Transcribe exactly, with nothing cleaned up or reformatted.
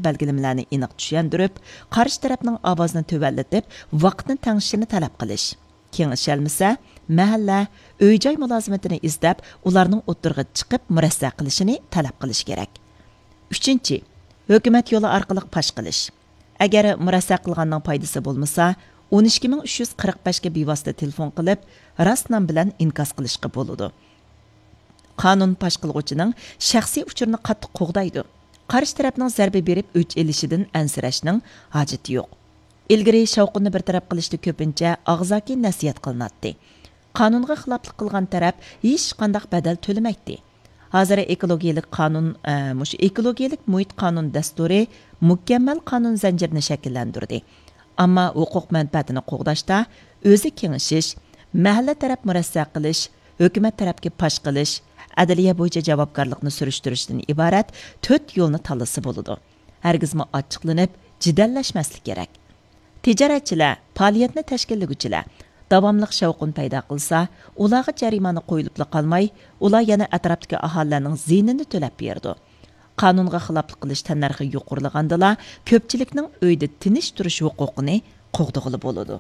بەلگىلىمىلەرنى ئېنىق چۈشەندۈرۈپ، قارشى تەرەپنىڭ ئاۋازىنى تۆۋەنلىتىپ، ۋاقىتنى تەڭشىشىنى تەلەپ قىلىش. كېڭىشەلمىسە، مەھەللە، ئۆي-جاي مۇلازىمىتىنى ئىزدەپ، ئۇلارنىڭ ئوتتۇرىغا چىقىپ مۇرەسسە قىلىشىنى تەلەپ قىلىش كېرەك. ئۈچىنچى، ھۆكۈمەت يولى ئارقىلىق پاش قىلىش. ئەگەر مۇرەسسە قىلغاننىڭ پايدىسى بولمىسا، ئون ئىككى مىڭ ئۈچ يۈز قىرىق بەشكە بىۋاسىتە تېلېفون قىلىپ، راست نام بىلەن ئىنكاس قىلىشقا بولىدۇ. قانۇن پاش قىلغۇچىنىڭ شەخسىي ئۇچۇرىنى قاتتىق قوغدايدۇ. قارشى تەرەپنىڭ زەربە بېرىپ ئۆچ ئېلىشىدىن ئەنسىرەشنىڭ ھاجىتى يوق. ئىلگىرى شاۋقۇننى بىر تەرەپ قىلىشتا كۆپىنچە ئاغزاكى نەسىھەت قىلىناتتى. قانۇنغا خىلاپلىق قىلغان تەرەپ ھېچقانداق بەدەل تۆلىمەيتتى. ھازىر ئېكولوگىيەلىك قانۇن، ئە، مۇشۇ ئېكولوگىيەلىك مۇھىت قانۇن دەستۇرى مۇكەممەل قانۇن زەنجىرىنى شەكىللەندۈردى. ئەمما ھوقۇق مەنپەئەتىنى قوغداشتا ئۆزى كېڭىشىش، مەھەللە تەرەپ مۇرەسسە قىلىش، ھۆكۈمەت تەرەپكە پاش قىلىش، ئەدلىيە بويىچە جاۋابكارلىقنى سۈرۈشتۈرۈشتىن ئىبارەت تۆت يولنى تاللىسا بولىدۇ. ھەرگىزمۇ ئاچچىقلىنىپ، جېدەللەشمەسلىك كېرەك. تىجارەتچىلەر، پائالىيەتنى تەشكىللىگۈچىلەر داۋاملىق شاۋقۇن پەيدا قىلسا، ئۇلارغا جەرىمانە قويۇلۇپلا قالماي، ئۇلار يەنە ئەتراپتىكى ئاھالىلەرنىڭ زىيىنىنى تۆلەپ بېرىدۇ. قانۇنغا خىلاپلىق قىلىش تەننەرخى يۇقىرىلىغاندىلا، كۆپچىلىكنىڭ ئۆيدە تىنچ تۇرۇش ھوقۇقىنى قوغدىغىلى بولىدۇ.